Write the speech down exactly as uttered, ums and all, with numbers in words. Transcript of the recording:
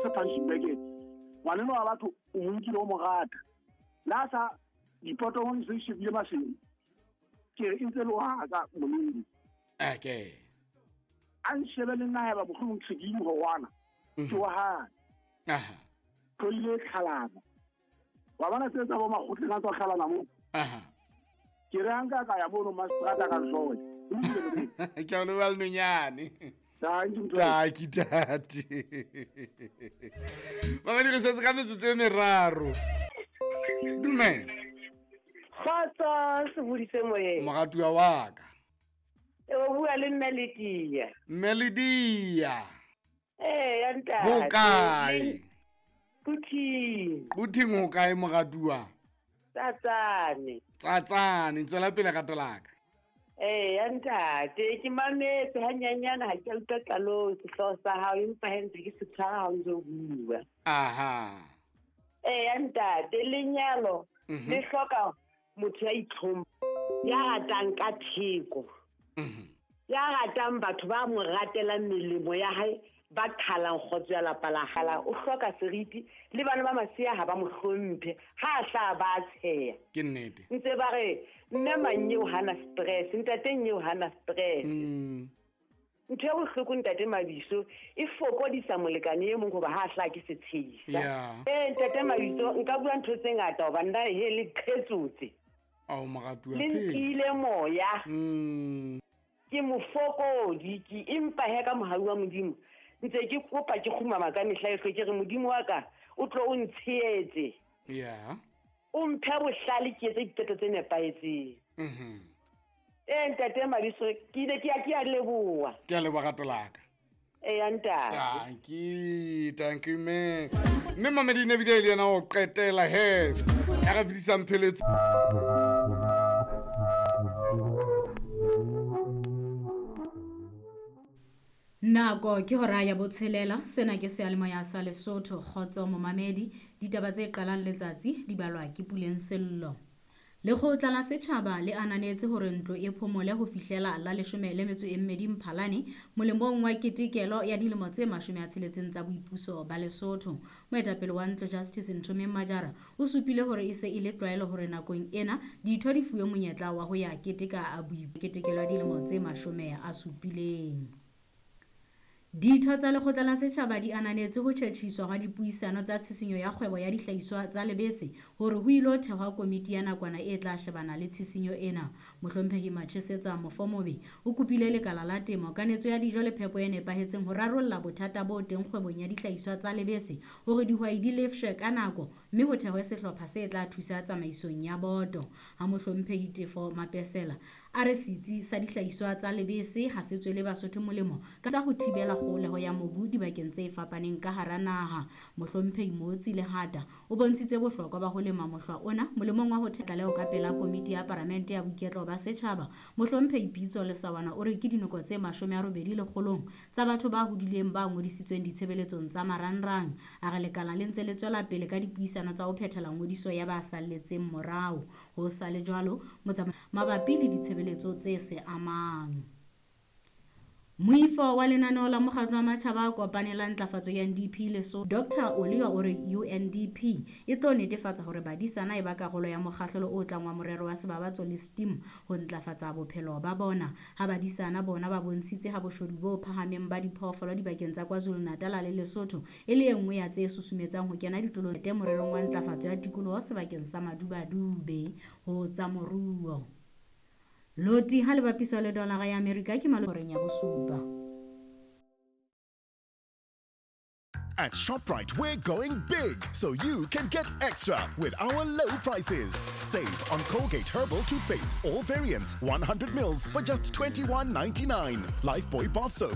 se punching bag ngwaneno wa batho o mo nkile o mo rata la sa dipoto ho se shebile maseng ke re ntse le wa ka molodi okay a nshebe le nna haeba mohlomong ke ke mohwana ke wa hae aha tloile tlhalana wa bona tse tsa bo makgotleng a tswa tlhalana mo aha ke re hanka ka ya mono mastrata ka nsoe ke a leboha Nonyane Tanki tate mamedi re setse ka metsotso e meraro dumela kgotso sebodise moyeng moratuwa wa ka e o bua le mme Ledia mme Ledia ee ya ntate ho kae Quthing Quthing ho kae moratuwa Tsatsane Tsatsane tswela pele rato la ka ee ya ntate ke mametse hanyanyana ha ke utlwa qalong sehlooho sa hao empa he ntse ke se tshwara ha o ntse o bua aha ee ya ntate lenyalo le hloka motho ya itlhompha ya ratang ka theko ya ratang batho ba mo ratelang melemo ya hae ba qhalang kgotso ya lapa la hala o hloka seriti le bana ba masea ha ba mo hlomphe ha hla ba tsheya ke nnete ntse ba re mme manyeo hana stress ntate nyeo hana stress ntho ya bohloko ntate Mabiso e fokodisa molekane e mong hoba ha hla ke setshehisa eh ntate Mabiso nka bua ntho tse ngata hoba nna he le qhetsotse ao moratuwa le nkile moya mm ke mofokodi ke empa he ka mohau wa Modimo ntse ke kopa ke kgumama ka mehla yohle ke re Modimo wa ka o tlo o ntshehetse yeah o mphe bohlale ke etse diqeto tse nepahetseng mhm eh ntate Mabiso ke ile ke ya ke a leboha ke a leboha rato la ka eh ya ntate tanki tanki mme mme mamedi ne bile le yena o qetela he ya re fetisang pheletso Nako ke hora ya botshelela sena ke seyalemoya sa Lesotho kgotso momamedi ditaba tse qalang letsatsi di balwa ke Puleng Sello. Lekgotla la setjhaba le ananetse hore ntlo e phomole ho fihlela la leshome le metso e mmedi Mphalane molemong wa ketekelo ya dilemo tse mashome a tsheletseng tsa boipuso ba Lesotho. Moetapele wa ntlo Justice Nthomeng Majara o supile hore e se e le tlwaelo hore nakong ena ditho di fuwe monyetla wa ho ya keteka ketekelo ya dilemo tse mashome a supileng. Ditho tsa lekgotla la setjhaba di ananetse ho tjhetjhiswa hwa dipuisano tsa tshisinyo ya kgwebo ya dihlahiswa tsa lebese hore ho ilo thehwa komiti ya nakwana e tla shebana le tshisinyo ena. Mohlomphehi Machesetsa Mofomobe o kopile lekala la temo kanetso ya dijo le phepo e nepahetseng ho rarolla bothata bo teng kgwebong ya dihlahiswa tsa lebese hore dihwai di lefshwe ka nako mme ho thehwe sehlopha se tla thusa tsamaisong ya boto. Ha Mohlomphehi Tefo Mapesela a re setsi sa dihlahiswa tsa lebese ha se tswele Basotho molemo ka tsa ho thibela kgoholeho ya mobu dibakeng tse fapaneng ka hara naha. Mohlomphehi Motsi Lehata o bontshitse bohlokwa ba ho lema mohlwa ona molemong wa ho tlaleho ka pela komiti ya paramente ya boiketlo ba setjhaba. Mohlomphehi Pitso Lesawana o re ke dinoko tse mashome a robedi lekgolong tsa batho ba hodileng ba ngodisitsweng ditshebeletsong tsa marangrang. A re lekala le ntse le tswela pele ka dipuisano tsa ho phethela ngodiso ya ba salletseng morao. Ho sa le jwalo mabapi le ditshebeletso tse se amang. Moifo wa lenaneo la mokgatlo wa matjhaba a kopanelang ntlafatso ya N D P Lesotho Doctor Olio o re U N D P e tlo netefatsa hore badisana e ba karolo ya mokgahlelo o tlang wa morero wa sebabatso le STEAM ho ntlafatsa bophelo ba bona. Ha badisana bona ba bontshitse ha boshodu bo phahameng ba diphoofolo dibakeng tsa KwaZulu-Natal le Lesotho e le e nngwe ya tse susumetsang ho kena ditlolong tse morerong wa ntlafatso ya tikoloho sebakeng sa Madubadube ho tsa moruo. Loti ha le bapiswa le dolara ya Amerika ke maloreng ya bosupa. At ShopRite, we're going big so you can get extra with our low prices. Save on Colgate Herbal Toothpaste, all variants, one hundred mils for just twenty-one ninety-nine. Lifebuoy bath soap,